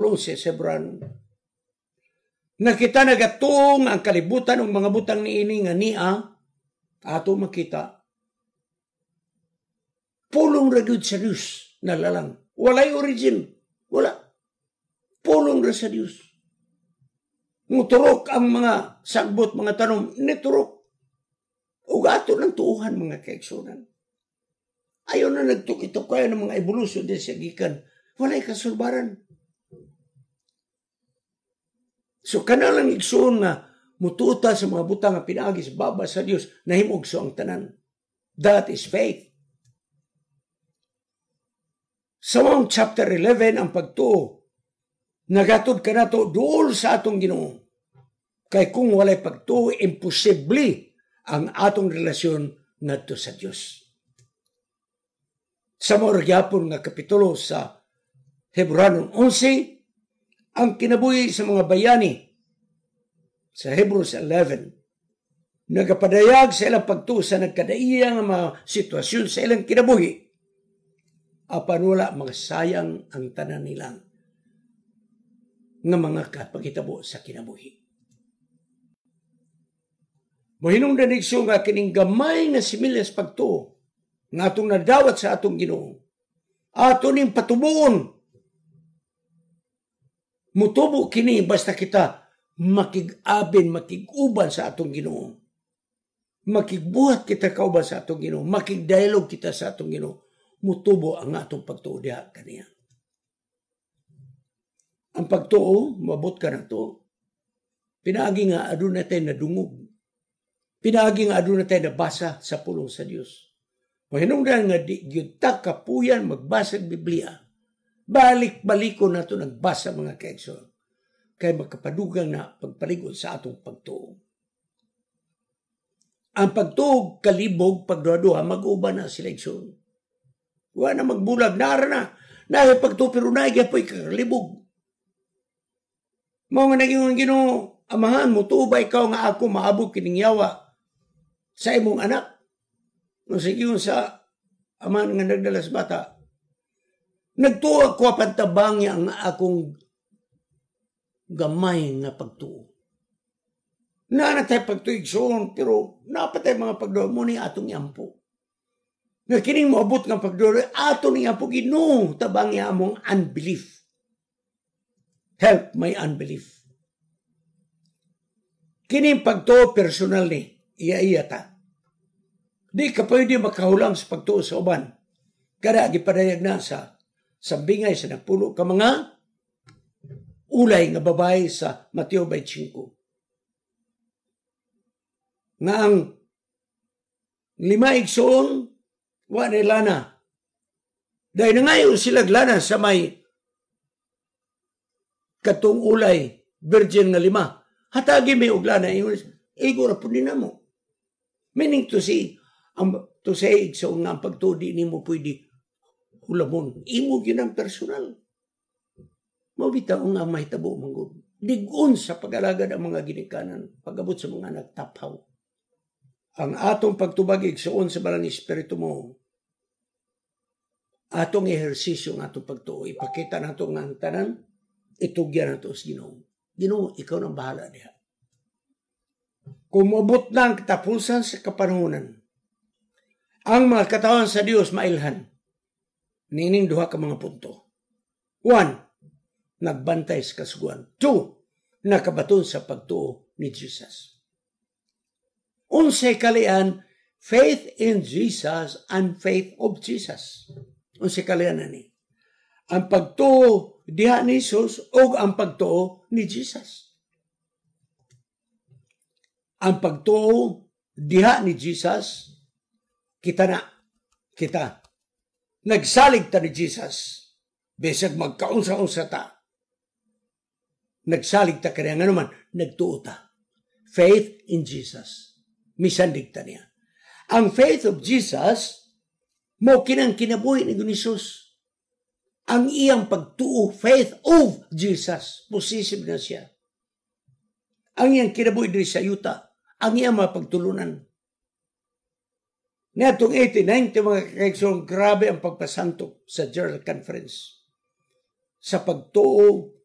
kapitulo 11 sa Hebrano. Nga kita nagatuo nga ang kalibutan ug mga butang niini nga nia ato makita, pulong ra gyud sa Dios nalalang. Walay origin. Wala. Pulong ra sa Dios. Muturok ang mga sagbot, mga tanom, niturok. Ug ato ng tuuhan, mga kaigsunan. Ayaw na nagtukitok kayo ng mga evolution din sa gikan. Walay kasulbaran. So kana lang, igsuon, nga mututa sa mga butang nga pinaagi sa baba sa Dios, nahimugso ang tanan. That is faith. Sa mong chapter 11, ang pagtuo nagatod kanato duol sa atong Ginoo. Kay kung walay pagtuo, imposible ang atong relasyon ngadto sa Dios. Sa mao gyapon nga kapitulo sa Hebrano 11, ang kinabuhi sa mga bayani sa Hebrews 11, nagapadayag sa ilang pagtuo sa nagkadaiya nga mga sitwasyon sa ilang kinabuhi, apan wala masayang ang tanan nilang nga mga kapagitabo sa kinabuhi. Mohinungdan, igsoon, nga kining gamay nga similyas pagtuo nga atong nadawat sa atong Ginoo, ato ning patubuon. Mutubo kini basta kita makig-abin, makig-uban sa atong Ginoo. Makigbuhat kita kauban sa atong Ginoo, makig-dialogue kita sa atong Ginoo. Mutubo ang atong pagtuo diha kaniya. Ang pagtuo, mabot ka na to. Pinaagi nga aduna tay nadungog. Pinaagi nga aduna tay nabasa sa pulong sa Dios. Mahinungdan nga di gyud ta kapuyan magbasa og Biblia. Balik-baliko nato nagbasa, mga kaigsoon. Kay makapadugang na pagpalig-on sa atong pagtuo. Ang pagtuo kalibog pagduha-duha, mag-uban na sila, igsoon. Wa na magbulag, nara na. Naa pagtuo pero naa gyapoy kakalibog. Mao nga naging Ginoo, "Amahan, mutuo ba ikaw nga ako maabog kining yawa sa imong anak?" No sige sa amahan nga nagdala sa bata, "Nagtuo ako apan tabangi ang akong gamay nga pagtuo." Naa na tay pagtuo, igsoon, pero naa pa tay mga pagduha mao ni atong iampo. Nga kining moabot nga pagduha, ato ni ampo, "Ginoo, tabangi among unbelief. Help my unbelief." Kining pagtuo personal ni, iya-iya ta. Di ka pwede makahulam sa pagtuo sa uban. Kada gipadayag na sa sambingay sa napulo ka mga ulay nga babae sa Mateo 25. Nga ang lima, igsoon, wa na lana. Dahil nangayo sila lana sa may katong ulay virgin nga lima. "Hatagi mi og lana." "Igo ra pud ni namo." Meaning to say, ang to say, igsoon, nga ang pagtuo di nimo pwede hulamon. Imo gyud ang personal. Mao bitaw nga mahitabo man gud. Lig-on sa pag-alagad ang mga ginikanan pag-abot sa mga nagtaphaw. Ang atong pagtubag, igsoon, sa Banal Espiritu mo atong ehersisyo ng atong pagtuo. Ipakita nato nga ang tanan itugyan nato sa Ginoo. "Ginoo, ikaw nang bahala diha." Kung moabot na ang katapusan sa kapanahonan, ang mga katawan sa Dios mailhan niining duha ka mga punto. One, nagbantay sa kasuguan. Two, nakabaton sa pagtuo ni Jesus. Unsay kalian faith in Jesus and faith of Jesus? Unsay kalian ani? Ang pagtuo diha ni Jesus o ang pagtuo ni Jesus. Ang pagtuo diha ni Jesus, kita na, kita. Nagsalig ta ni Jesus, bisag magkaunsa-unsa ta. Nagsalig ta kaniya nga naman, nagtuo ta. Faith in Jesus. Misandig ta niya. Ang faith of Jesus, mao kinang kinabuhi ni Jesus. Ang iyang pagtuo, faith of Jesus, possessive na siya. Ang iyang kinabuhi diri sa yuta, ang iyang mga pagtulunan. Niadtong 1890, mga kaigsoon, grabe ang pagpasanto sa General Conference sa pagtuo.